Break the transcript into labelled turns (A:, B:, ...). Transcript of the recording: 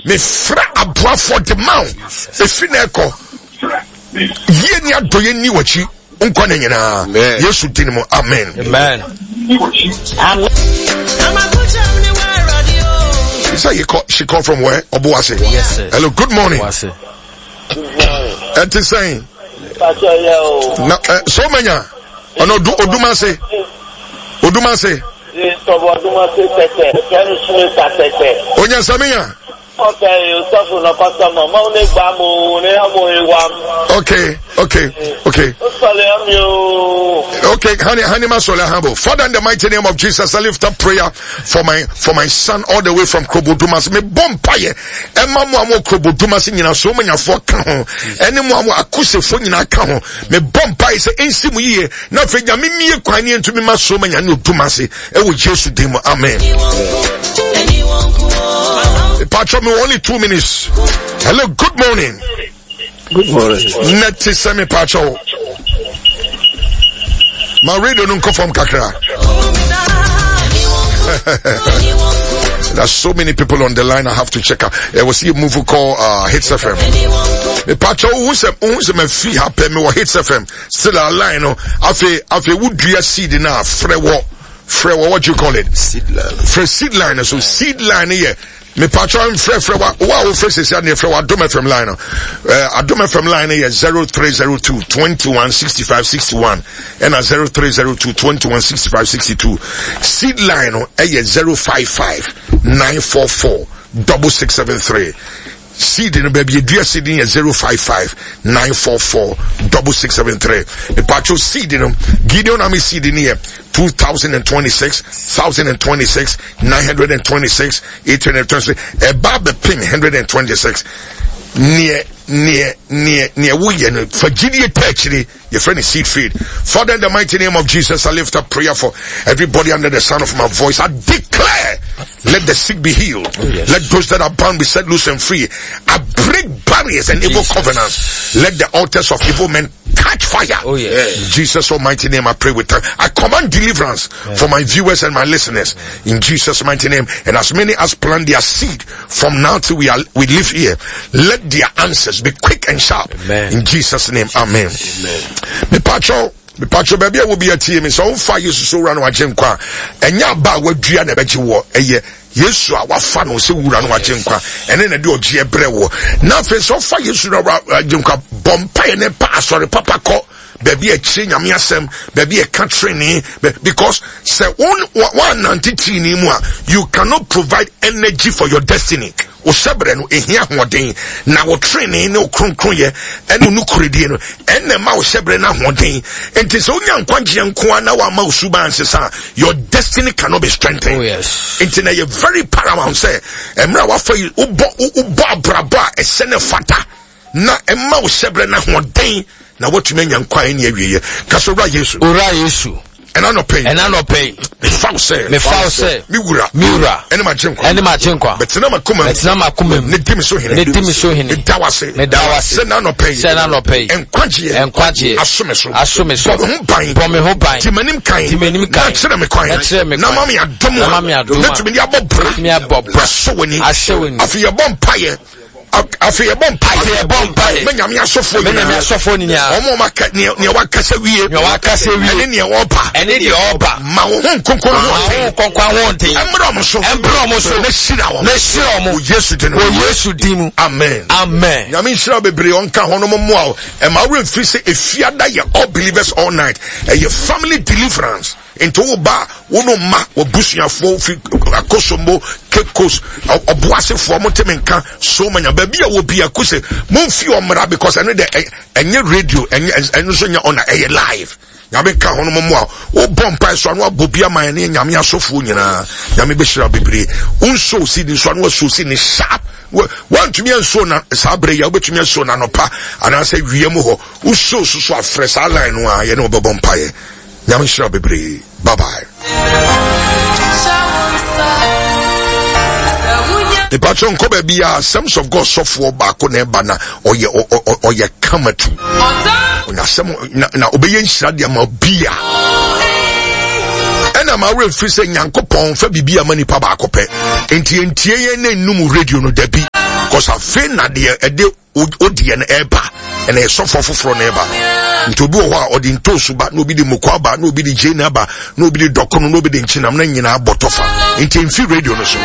A: Mefrɛ aboafoɔ de ma wo. Ɛfiri na ɛkɔ. Yie ne adɔeɛ nni w'akyi nkɔ ne nyinaa. Yesu din mu. Amen.
B: Amen.
A: You say you call, she called from where? Obuasi.
B: Yes, sir.
A: Hello, good morning.
B: Obuasi.
A: Ɛte sɛn? Na eh, so manya ɔno Odumase. Odumase. Onya saminya. Okay, okay, okay. Okay, honey, honey, masole humble. Father, in the mighty name of Jesus, I lift up prayer for my for my son all the way from Krobodumas. Me bompaye. Emma mo amo Krobodumas nyina so manyafo ka ho. Ene mo amo akusefo nyina ka ho. Me bompaye se ensi mu yiye. Na afei Nyame mie kwan ne ntumi ma so manya ne Odumase. Ewo Yesu din mu. Amen. Patrol me only 2 minutes. Hello, good morning.
C: Good morning.
A: Neti sɛ me patrol. Ma radio no nkɔ fam kakra. There's so many people on the line. I have to check out. It was a move call Hits FM. Me patrol who say who say me free happy me Hits FM. Still a line no. Afe afe wudua seed na frɛ wɔ frɛ wɔ what do you call it?
C: Seed line.
A: Frɛ seed line so seed line yɛ mepatwa mfrɛfrɛ wa wo a wofrɛ sɛsi adeɛ frɛ wɔ adom fm line no eh, adom fm line no yɛ 0302 21 65 61 ɛna 0302 21 65 62 seed line no ɛyɛ 055 944 6673 Seed no baabi edua seed no yɛ 055 944 6673. Mepatwo seed no Gideon Army seed no yɛ 2026 1026 926 826 ɛba bɛpem 126 neɛ neɛ neɛ neɛ woyɛ no fa gyidie ta akyire yɛfrɛ no seed feed. Father, in the mighty name of Jesus, I lift up prayer for everybody under the sound of my voice. I declare, let the sick be healed.
B: Oh, yes.
A: Let those that are bound be set loose and free. I break barriers and evil
B: Jesus.
A: covenants. Let the altars of evil men catch fire.
B: Oh, yes.
A: In Jesus' almighty name, I pray with thanks. I command deliverance for my viewers and my listeners in Jesus' mighty name. And as many as plant their seed from now till we live here, let their answers be quick and sharp.
B: Amen.
A: In Jesus' name, amen.
B: Amen.
A: Me pacho, me pacho, baby, I will be a team. So far, you so run wa jenkwa. Enya ba wa dua na beji wo. Eye Yesu a wafa no se wura no wa jenkwa. Ene na de oje ebre wo. Na fe so fa Yesu na wa jenkwa bompa ne pa asore papa ko. Baabi a ɛkyerɛ nyame asɛm, baabi a ɛka trenee, because sɛ woannante trenee mu a, you cannot provide energy for your destiny. Wo hyɛbrɛ no ehia ahoɔden, na wo trenee ne wo kronkronyɛ ɛne wo nokorɛdie no ɛna ɛma wo hyɛbrɛ no ahoɔden. Nti sɛ wonya nkwagyeɛ nko ara na woama wo suban ansesa a, your destiny cannot be strengthened.
B: Oh, yes.
A: Nti na ɛyɛ very paramount sɛ mmerɛ a wafa yi wobɔ abrabɔ a ɛsɛ ne fata na ɛma wo hyɛbrɛ no ahoɔden na woatumi anya nkwa a ɛnni awieɛ. Ka sɛ, Owura Yesu.
B: Owura Yesu.
A: Ɛna anɔpa yi.
B: Ɛna anɔpa yi.
A: Mefa wo sɛ.
B: Mefa wo sɛ.
A: Me wura.
B: Me wura.
A: Ɛne m'agyenkwa.
B: Ɛne m'agyenkwa.
A: Bɛtena m'akoma mu.
B: Bɛtena m'akoma mu.
A: Ne di me so hene.
B: Ne di me so hene.
A: Meda wo ase.
B: Meda wo ase.
A: Sɛ na anɔpa yi.
B: Sɛ na anɔpa yi.
A: Nkwagyeɛ.
B: Nkwagyeɛ.
A: Aso me so.
B: Aso me so.
A: Bɔ me ho ban.
B: Bɔ me ho ban.
A: Di m'anim kan.
B: Di m'anim kan.
A: Na kyerɛ me kwan.
B: Na kyerɛ me kwan.
A: Na ma me adom a.
B: Na ma me adom a.
A: Mɛtumi de abɔ bra.
B: Mɛtumi abɔ bra.
A: Ahyɛ w'ani.
B: Ahyɛ w'ani.
A: Afei yɛbɔ mpaeɛ. Afei yɛbɔ mpaeɛ.
B: Afei yɛbɔ mpaeɛ.
A: Mɛ nyame asɔfoɔ
B: Mɛ nyame
A: nyinaa.
B: asɔfoɔ nyinaa.
A: Wɔn a wɔaka nea nea wakasa wie.
B: Nea wakasa wie.
A: Ɛne nea ɔreba.
B: Ɛne deɛ ɔreba.
A: Ma wo ho nkonkron
B: Ma wo
A: ahoɔden.
B: nkonkron ahoɔden.
A: Ɛmmrɛ wɔn so.
B: Ɛmbrɛ wɔn so.
A: Na hyira wɔn.
B: Na hyira wɔn.
A: Wɔ Yesu din mu.
B: Wɔ Yesu din mu.
A: Amen.
B: Amen.
A: Nyame nhyira bebree ɔnka ho no mo mmoa wo. Ɛma wo mfiri sɛ efiada yɛ all believers all night. Ɛyɛ family deliverance. Nti wo ba wo no mma w'abusuafoɔ fi Akosombo, Cape Coast, ɔboasefoɔ mo te me nka so manya baabi a wɔ bi akuse momfi ɔmmra because ɛno de ɛnyɛ radio ɛnyɛ ɛno nso nyɛ ɔna ɛyɛ live. Nyame nka ho no mo mmoa wobɔ mpae so ano abɔ bi ama ɛne nyame asɔfoɔ nyinaa. Nyame bɛhyira bebree. Wonso si ne nso ano aso si ne sharp. Woantumi anso na saa berɛ yi a wobɛtumi aso na anɔpa anaasɛ wia mu hɔ. Woso so so afrɛ saa line no a yɛne wobɛbɔ mpaeɛ. Nyame nhyira bebree. Bye bye. Mepakyɛ nkɔ baabi a Assemblies of God sɔfoɔ baako na ɛba na ɔyɛ ɔyɛ kamatu. Ɔnya asɛm na na ɔbɛyɛ nhyira de ama bia. Ɛna ma awura mfiri sɛ Nyankopɔn fa biribi ama nipa baako pɛ. Nti ntie yɛn na nnum radio no dabi. Because afei na deɛ ɛde odiɛ no ɛba, ɛna ɛsɔfoɔ foforɔ na ɛba. Nti obi wɔ hɔ a ɔde ntoosu ba, na obi de moko aba, na obi de gyeene aba, na obi de dɔkono, na obi de nkyenam, na nyinaa bɔ tɔfa. Nti mfi radio no so.